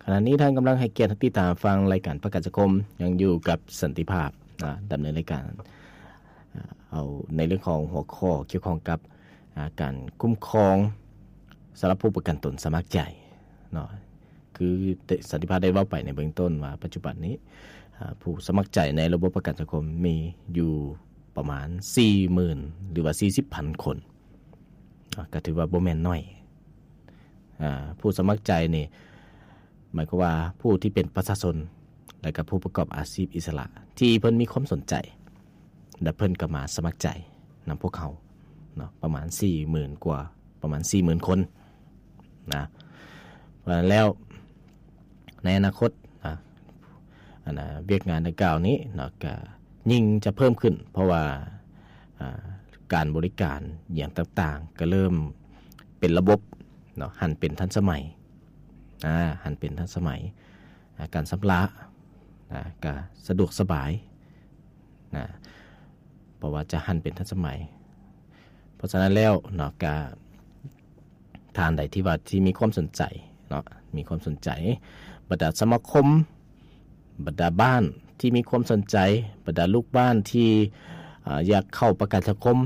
ຂະນະນີ້ທ່ານກຳລັງໃຫ້ກຽດຕິດຕາມຟັງລາຍການປະກັນສັງຄົມ, ຍັງຢູ່ກັບສັນຕິພາບນະ, ດຳເນີນລາຍການ ເອົາໃນເລື່ອງຂອງຫົວຂໍ້ກ່ຽວຂ້ອງກັບ ອາ ການຄຸ້ມຄອງສຳລັບຜູ້ປະກັນຕົນສະໝັກໃຈເນາະ. ຄືສັນຕິພາບໄດ້ເວົ້າໄປໃນເບື້ອງຕົ້ນວ່າ ປັດຈຸບັນນີ້ ອາ ຜູ້ສະໝັກໃຈໃນລະບົບປະກັນສັງຄົມມີຢູ່ປະມານສີ່ໝື່ນ ຫຼືວ່າສີ່ສິບພັນຄົນ. ອາ ກໍຖືວ່າບໍ່ແມ່ນໜ້ອຍ. ອາ ຜູ້ສະໝັກໃຈນີ້ ໝາຍຄວາມວ່າຜູ້ທີ່ເປັນປະຊາຊົນ ແລະກໍຜູ້ປະກອບອາຊີບອິດສະຫຼະ ທີ່ເພິ່ນມີຄວາມສົນໃຈ ແລະເພິ່ນກໍມາສະໝັກໃຈນຳພວກເຮົາເນາະ ປະມານສີ່ໝື່ນກວ່າ ປະມານສີ່ໝື່ນຄົນນະ. ເພາະສະນັ້ນແລ້ວ ໃນອະນາຄົດນະ ອັນນະ ວຽກງານດັ່ງກ່າວນີ້ເນາະ ກະຍິ່ງຈະເພີ່ມຂຶ້ນ ເພາະວ່າ ອາ ການບໍລິການຫຍັງຕ່າງໆ ກະເລີ່ມເປັນລະບົບເນາະ, ຫັນເປັນທັນສະໄໝ ອາ ຫັນເປັນທັນສະໄໝ ອາ ການຊຳລະນະ ກະສະດວກສະບາຍນະ ເພາະວ່າຈະຫັນເປັນທັນສະໄໝ. ເພາະສະນັ້ນແລ້ວເນາະ ກະ ທ່ານໃດທີ່ວ່າທີ່ມີຄວາມສົນໃຈເນາະ ມີຄວາມສົນໃຈ ບັນດາສະມາຄົມ ບັນດາບ້ານທີ່ມີຄວາມສົນໃຈ ບັນດາລູກບ້ານທີ່ ອາ ຢາກເຂົ້າປະກັນສັງຄົມ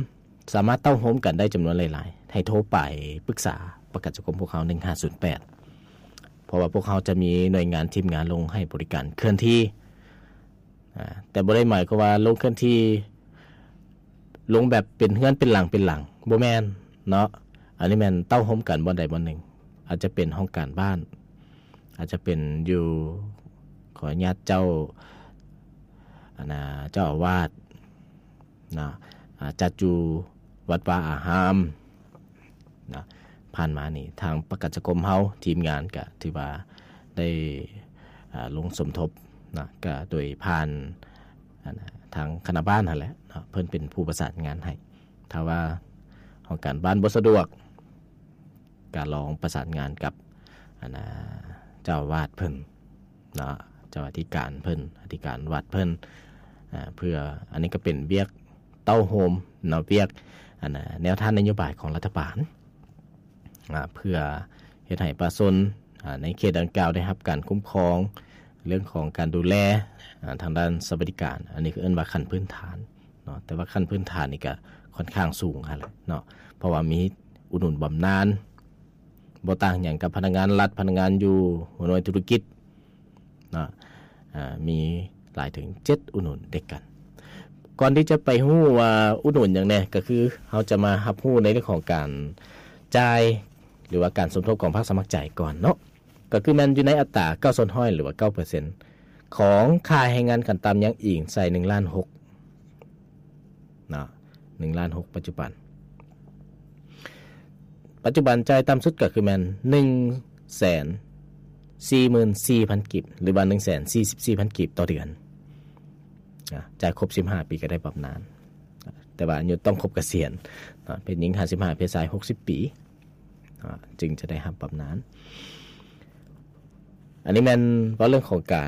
ສາມາດເຕົ້າໂຮມກັນໄດ້ຈຳນວນຫຼາຍໆ ໃຫ້ໂທໄປປຶກສາປະກັນສັງຄົມພວກເຮົາ ໜຶ່ງຫ້າສູນແປດ ເພາະວ່າພວກເຮົາຈະມີໜ່ວຍງານທີມງານລົງໃຫ້ບໍລິການເຄື່ອນທີ່ ອາ ແຕ່ບໍ່ໄດ້ໝາຍຄວາມວ່າລົງເຄື່ອນທີ່ ລົງແບບເປັນເຮືອນເປັນຫຼັງເປັນຫຼັງ ບໍ່ແມ່ນເນາະ. ອັນນີ້ແມ່ນເຕົ້າໂຮມກັນບ່ອນໃດບ່ອນໜຶ່ງ ອາດຈະເປັນຫ້ອງການບ້ານ ອາດຈະເປັນຢູ່ ຂໍອະນຸຍາດເຈົ້າ ອັນນາ ເຈົ້າອາວາດເນາະ ອາ ຈັດຢູ່ວັດວາອາຮາມ ນະ. ຜ່ານມານີ້ທາງປະກັນສັງຄົມເຮົາ ທີມງານກະຖືວ່າໄດ້ ອາ ລົງສົມທົບນະ ກະໂດຍຜ່ານ ອັນນະ ທາງຄະນະບ້ານຫັ້ນແຫຼະເນາະ ເພິ່ນເປັນຜູ້ປະສານງານໃຫ້. ຖ້າວ່າຫ້ອງການບ້ານບໍ່ສະດວກ ກະລອງປະສານງານກັບ ອັນນະ ເຈົ້າອາວາດເພິ່ນເນາະ ເຈົ້າອະທິການເພິ່ນ ອະທິການວັດເພິ່ນ ອາ ເພື່ອ ອັນນີ້ກະເປັນວຽກ ເຕົ້າໂຮມເນາະ ວຽກ ອັນນະ ແນວທາງນະໂຍບາຍຂອງລັດຖະບານ ອາ ເພື່ອເຮັດໃຫ້ປະຊາຊົນ ອາ ໃນເຂດດັ່ງກ່າວໄດ້ຮັບການຄຸ້ມຄອງເລື່ອງຂອງການດູແລ ອາ ທາງດ້ານສະຫວັດດີການ. ອັນນີ້ເອີ້ນວ່າຂັ້ນພື້ນຖານເນາະ ແຕ່ວ່າຂັ້ນພື້ນຖານນີ້ກະຂ້ອນຂ້າງສູງຫັ້ນແຫຼະເນາະ ເພາະວ່າມີອຸດໜູນບຳນານ ບໍ່ຕ່າງຫຍັງກັບພະນັກງານລັດ ພະນັກງານຢູ່ຫົວໜ່ວຍທຸລະກິດເນາະ ອາ ມີຫຼາຍເຖິງເຈັດອຸດໜູນດ້ວຍກັນ. ກ່ອນທີ່ຈະໄປຮູ້ວ່າອຸດໜູນຫຍັງແດ່ ກໍຄືເຮົາຈະມາຮັບຮູ້ໃນເລື່ອງຂອງການຈ່າຍ ຫຼືວ່າການສົມທົບຂອງພາກສະໝັກໃຈກ່ອນເນາະ ກໍຄືແມ່ນຢູ່ໃນອັດຕາເກົ້າສ່ວນຮ້ອຍ ຫຼືວ່າເກົ້າເປີເຊັນ ຂອງຄ່າແຮງງານຂັ້ນຕ່ຳ ຍັງອີງໃສ່ໜຶ່ງລ້ານຫົກເນາະ ໜຶ່ງລ້ານຫົກປັດຈຸບັນ. ປັດຈຸບັນຈ່າຍຕ່ຳສຸດກໍຄືແມ່ນໜຶ່ງແສນສີ່ໝື່ນສີ່ພັນກີບ ຫຼືວ່າໜຶ່ງແສນສີ່ສິບສີ່ພັນກີບຕໍ່ເດືອນນະ ຈ່າຍຄົບສິບຫ້າປີກໍໄດ້ບຳນານ ແຕ່ວ່າອາຍຸຕ້ອງຄົບກະສຽນເນາະ ເພດຍິງຫ້າສິບຫ້າ ເພດຊາຍຫົກສິບປີເນາະ ຈຶ່ງຈະໄດ້ຮັບບຳນານ. ອັນນີ້ແມ່ນເວົ້າເລື່ອງຂອງການ